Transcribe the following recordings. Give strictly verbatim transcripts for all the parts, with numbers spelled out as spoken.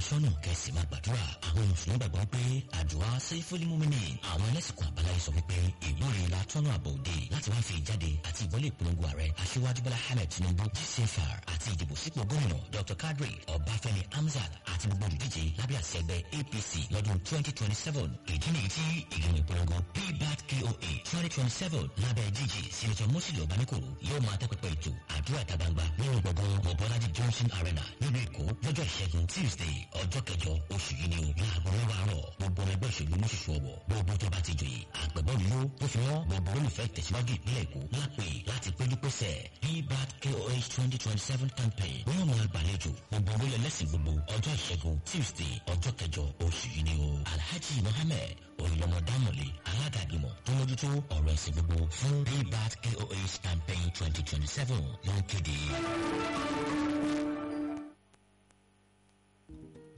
sọ́nà kẹsì máa gbàdúrà. Àwọn mùsùlùmí gbàgbọ́ pé àdúrà sẹ́fúlímùmínì. Àwọn ẹlẹ́sìnkú àbáláyé sọ wípé ìwúre la tọ́nà àbọ̀ òde láti wá fi ìjáde àti ìwọlé ìpolongo ààrẹ Aṣíwájú Bọ́lá Ahmed Tinubu G C F R àti ìdìbò sípò gómìnà Doctor Kadri Ọbáfẹ́mi Hamzat àti gbogbo olùdíje lábẹ́ àṣẹ ẹgbẹ́ A P C lọ́dún twenty twenty seven. Ìdí nìyí tí ìgbìmọ̀ ìpolongo P BAT K O A twenty twenty seven lábẹ́ G G Senator Mosili Obanikoro yóò máa tẹ́pẹpẹ ètò àdúrà ìta gbangba nínú gbọ̀ngàn Mobolaji Johnson Arena nílùú Èkó lọ́jọ́ Ìṣẹ́gun, Tuesday, ọjọ́ kẹjọ oṣù yìí ni o, láago mẹ́wàá àárọ̀. Gbogbo ọmọ ẹgbẹ́ òṣèlú mọ́ṣoṣù ọ̀wọ̀, gbogbo tó bá ti joyè àgbẹ̀bọ́n ló tó fi wọ́n, gbogbo olùfẹ́ ìtẹ̀síwájú ìpínlẹ̀ Èkó lápè láti péjú pésẹ̀ P BAT K O A twenty twenty seven campaign. Wọ́n máa gbàlejò gbogbo olóyè lẹ́sìn gbogbo. Ọjọ́ Ìṣẹ́gun, Tuesday, ọjọ́ kẹjọ oṣù yìí ni o. Alhaji Mohammed Oyinlọmọ Dámọ̀lé, alága ìgbìmọ̀ tó mójútó ọ̀rọ̀ ẹ̀sìn gbogbo fún P BAT K O A campaign twenty twenty seven ló ń kéde.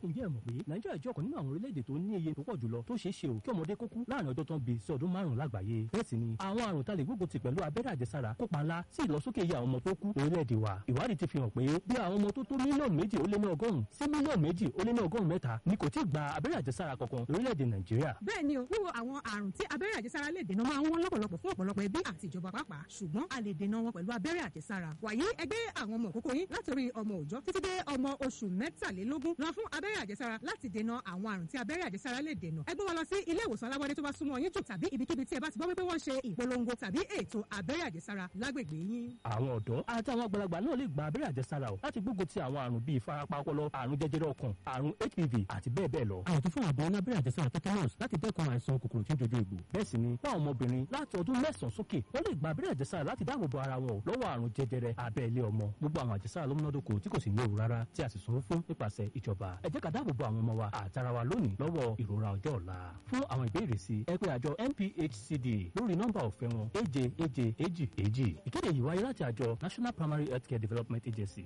Ǹjẹ́ ẹ mọ̀ pé Nàìjíríà jẹ́ ọ̀kan nínú àwọn orílẹ̀-èdè tó ní iye tó pọ̀ jùlọ tó ṣeé ṣe ò kí ọmọdé kó kú láàrin ọjọ́ tán bí sí ọdún márùn-ún lágbàáyé? Bẹ́ẹ̀ sì ni àwọn àrùn tá lè gbógun ti pẹ̀lú abẹ́rẹ́ àjẹsára kópa ńlá sí ìlọsókè iye àwọn ọmọ tó kú lórílẹ̀-èdè wa. Ìwádìí ti fi hàn pé bí àwọn ọmọ tó tó mílíọ̀nù méjì ó lé ní ọgọ́rùn-ún sí mílíọ̀nù méjì ó lé ní ọgọ́rùn-ún mẹ́ta ni kò tí ì gba abẹ́rẹ́ àjẹsára kankan lórílẹ̀-èdè Nàìjíríà. Bẹ́ẹ̀ ni o, wíwo àwọn àrùn tí abẹ́rẹ́ àjẹsára lè dènà máa ń wọ́n lọ́pọ̀lọpọ̀ fún ọ̀pọ̀lọpọ̀ ẹbí àti ìjọba pàápàá, ṣùgbọ́n a lè dènà wọn pẹ̀lú abẹ́rẹ́ àjẹsára. Wàyí, ẹgbẹ́ àwọn ọmọ òkókó yín látòrí ọmọ òòjọ́ títí dé ọmọ oṣù mẹ́tàlélógún lọ fún abẹ́rẹ́ àjẹsára láti dènà àwọn àrùn tí abẹ́rẹ́ àjẹsára lè dènà. Ẹ gbé wọn lọ sí ilé ìwòsàn alábọ́dé tó bá súnmọ́ yín jù tàbí ibikíbi tí ẹ bá ti gbọ́ wípé wọ́n ṣe ìpolongo tàbí ètò abẹ́rẹ́ àjẹsára lágbègbè yín. Àwọn ọ̀dọ́ àti àwọn àgbàlagbà náà lè gba abẹ́rẹ́ àjẹsára o láti gbógun ti àwọn àrùn bíi ìfarapa ọpọlọ, àrùn jẹjẹrẹ ọkàn, àrùn H P V àti bẹ́ẹ̀ bẹ́ẹ̀ lọ. Àwọn tó fún àbọ̀ ní abẹ́rẹ́ àjẹsára tetanus láti dẹ́kun àìsàn kòkòrò tí ń dojú egbò. Bẹ́ẹ̀ sì ni fún àwọn ọmọbìnrin láti ọdún mẹ́sàn-án sókè, wọ́n lè gba abẹ́rẹ́ àjẹsára láti dáàbò bo ara wọn lọ́wọ́ àrùn jẹjẹrẹ abẹ́ ilé ọmọ. Gbogbo àwọn àjẹsára ló múnádóko tí kò sì léwu rárá, tí a sì sanwó fún nípasẹ̀ ìjọba. Ẹ jẹ́ ká dáàbò bo àwọn ọmọ wa àtara wa lónìí lọ́wọ́ ìrora ọjọ́ ọ̀la. Fún àwọn ìbéèrè sí, ẹ pè àjọ N P H C D lórí nọ́mbà ọ̀fẹ́ wọn, èje èje èjì èjì. Ìkéde yìí wáyé láti àjọ National Primary Healthcare Development Agency.